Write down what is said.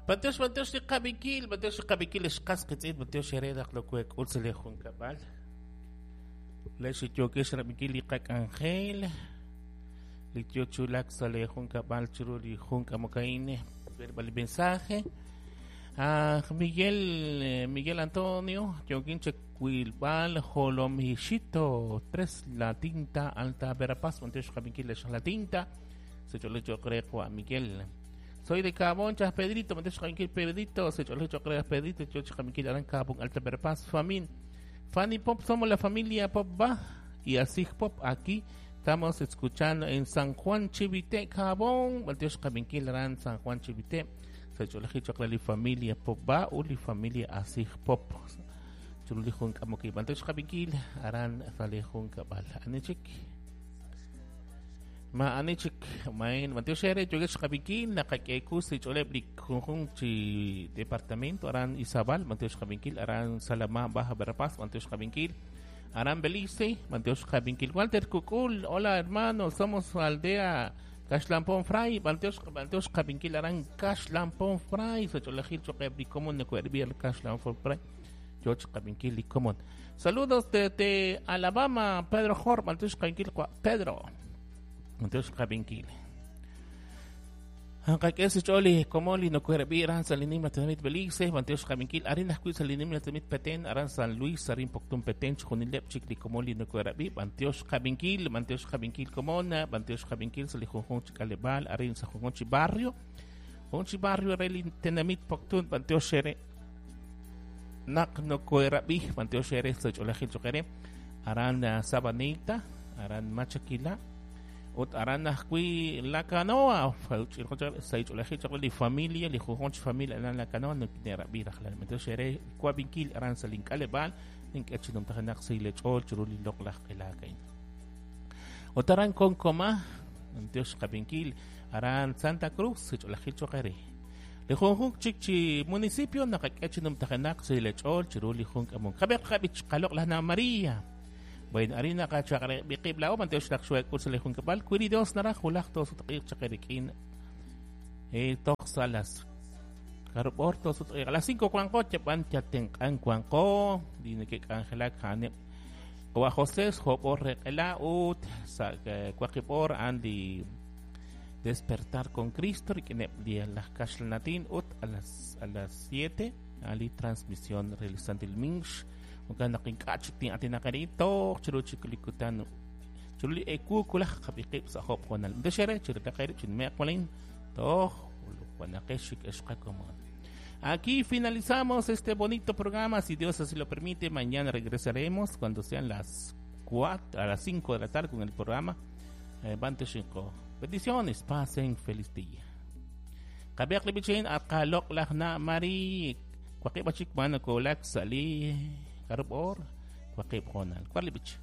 B'antiox, b'antiox li qab'inkil, b'antiox li qab'inkil ex qas qiitz'in, b'antiox eere naq nokoheek'ul sa' lee junkab'al. Leex li yookex rab'inkil li qak'anjel, li yoo chi wulak sa' lee junkab'al chiru li jun k'amok a'in, verbal li mensaje. Ah, Miguel, Miguel Antonio, yookin chawilb'al Jolomixito, 3 La Tinta, Alta Verapaz, b'antiox qab'inkil leex La Tinta, sa ch'oolej cho'q re qawa' Miguel. Soy de Cabón, Chas Pedrito, b'antiox qab'inkil Pedrito, sa ch'oolej cho'q re Pedrito, yo chi qab'inkil aran Cabón, Alta Verapaz, Famin. Fanny Pop, somos la familia Pop Ba y así Pop aquí estamos escuchando en San Juan Chivite, Cabón, b'antiox qab'inkil aran San Juan Chivite, sa ch'oolej cho'q re li familia Pop Ba u li familia Asij Pop. Chiru li jun k'amok ib', b'antiox qab'inkil aran sa' li junkab'al. Ani chik? Ma ani chik maen b'antiox eere yookex qab'inkil naqak'eeku sa' ch'ooleb' li junjunq chi departamento aran Izabal, b'antiox qab'inkil aran Salamá, Baja Verapaz, b'antiox qab'inkil aran Belice, b'antiox qab'inkil Walter Kukul, hola hermano, somos aldea Kaxlampon Fray, b'antiox b'antiox qab'inkil aran Kaxlampon Fray, sa ch'oolejil cho'q eb' li komon nako'erb'i al Kaxlampon Fray, yo chi qab'inkil li komon. Saludos desde Alabama, Pedro Jor, b'antiox qab'inkil Pedro. B'antiox qab'inkil. Qak'e sa xch'ool li komon li nokoherab'i aran sa' li nimla tenamit Belice, b'antiox qab'inkil arin ajwi' sa' li nimla tenamit Petén, aran San Luis, arin Poptún Petén, chixjunileb' chik li komon li nokoherab'i, b'antiox qab'inkil, b'antiox qab'inkil komon, b'antiox qab'inkil sa' li junjunq chi k'aleb'aal, arin sa' junjunq chi barrio, jun chi barrio re li tenamit Poptún, b'antiox eere naq nokoherab'i, b'antiox eere sa' ch'oolejil cho'q eere, aran Sabanita, aran Machaquila, ut aran ajwi' La Canoa, sa' ch'oolejil cho'q re li familia, li junjunq chi familia aran La Canoa nokine'rab'i rajlal. B'antiox eere wab'inkil aran sa' link'aleb'aal, nink'e chi numtajenaq sa' li ch'ool chiru li loq'laj q'elaak a'in. Ut aran Konkoma, b'antiox qab'inkil aran Santa Cruz, sa' ch'oolejil cho'q eere. Li junjunq chik chi municipio naqak'e chi numtajenaq sa' li ch'ool chiru li jun k'amok. Qab'eq qab'ich qaloq'laj Na María. Bueno, arin naqachaq'reb' qib' laa'o, b'antiox naq xohek'ul sa' li junkab'al, wi li Dios naraj wulaj toosutq'iiq chaq eerik'in toj sa' las jarub' oor toosutq'iiq. A las 5 wanqo, yab'an yatenq'an wanqo, li neke'k'anjelak a'aneb' Qawa' José, joob' oor re q'ela ut sa' waqib' oor a'an li Despertar con Cristo rik'ineb' li laj kaxlanatin ut a las a las 7 a'an li transmisión re li Santil Minx. Jo'kan naq ink'a' chik tin'aatinaq arin toj chiru chik li kutan chiru li ewu wulaj qab'i qib' sa' job' hoonal. B'antiox eere chirilaq eerib' chinume'q walin toj wanaqex chik ex qakomon. Aquí finalizamos este bonito programa. Si Dios así lo permite, mañana regresaremos cuando sean las 4, a las 5 de la tarde con el programa B'antiox inqo. Bendiciones, pasen feliz día. Qab'eq li b'ichin aqaloq'laj na Mari waqib' achik man nakoolak sa' li jarub' oor waqib' hoonal. War li b'ich.